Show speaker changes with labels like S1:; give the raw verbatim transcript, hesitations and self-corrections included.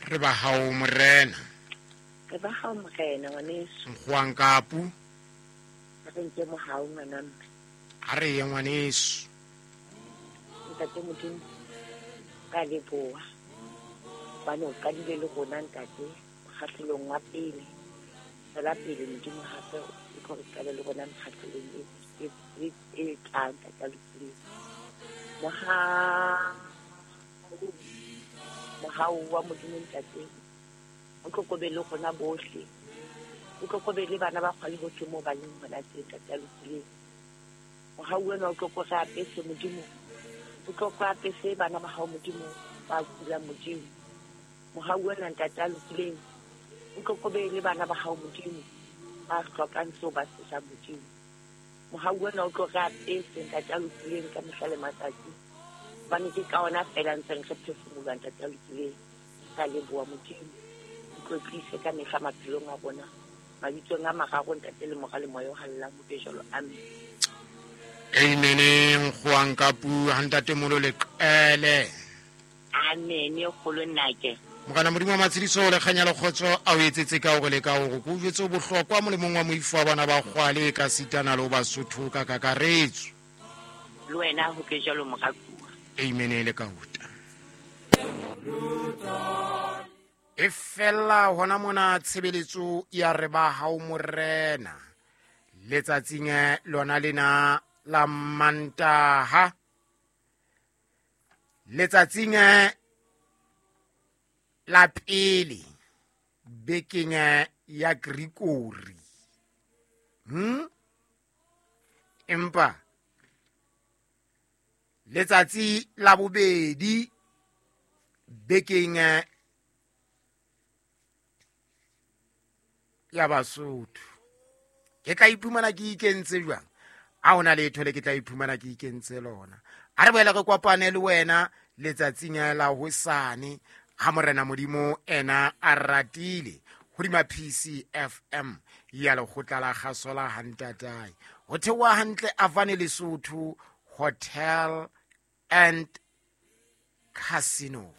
S1: Re ba hao morena.
S2: Re ba hao morena ngwaneso.
S1: Nkgoang kapu.
S2: Re nke mohau ngwana mme.
S1: A re ye ngwaneso.
S2: Ntate Modimo ka leboha. Bano ka dile le rona ntate mokgahlelong wa pele. Tswela pele Modimo hape o tlo re qale le rona mokgahlelong e e e tlang ntate lokileng. Mohau mohau wa Modimo ntate o tlo kobe le rona bohle. O tlo kobe le bana ba kgwale bohle moo ba leng hona teng ntate lokileng. Mohau wena o tlo ko re apese Modimo. O tlo ko apese bana ba hao Modimo ba kulang Modimo. Mohau wena ntate a lokileng o tlo kobe le bana ba hao Modimo ba hlokang seo ba se jang Modimo. Mohau wena o tlo re apese ntate a lokileng ka mehla le matsatsi. Hobane ke ka ona feela ntseng re phefumoloha ntate a lokileng. Ka leboha Modimo. O tlotlise ka mehla maphelong a rona. Mabitsong a mararo ntate le Mora le Moya o Halalelang ho be jwalo. Amen.
S1: Amen. Nkgoang kapu ha ntate molo leqele.
S2: Amen. Kgolo nnake.
S1: Morena Modimo wa matshediso le kganya le kgotso a o etsetse ka hore le ka hore ko jwetse o bohlokwa molemong wa moifo wa bana ba kgwale ka sitana le ho Basotho ka kakaretso.
S2: Le wena ho ke jwalo morakuwa.
S1: Amen le ka uta. E fella hona mona tshebeletso ya re ba hao morena. Letsatsing lona lena la Mantaha. Letsatsing la pele bekeng ya Gregory. Hm? Empa letsatsi la bobedi bekeng ya Basotho. Ke tla iphumana ke ikentse jwang? A hona letho le ke tla iphumana ke ikentse lona. A re boele re kopane le wena letsatsing la hosane ha morena Modimo ena a ratile hodima P C F M ya lekgotla la kgaso la Hantatae. Ho theoha hantle Avane Lesotho Hotel and Casino.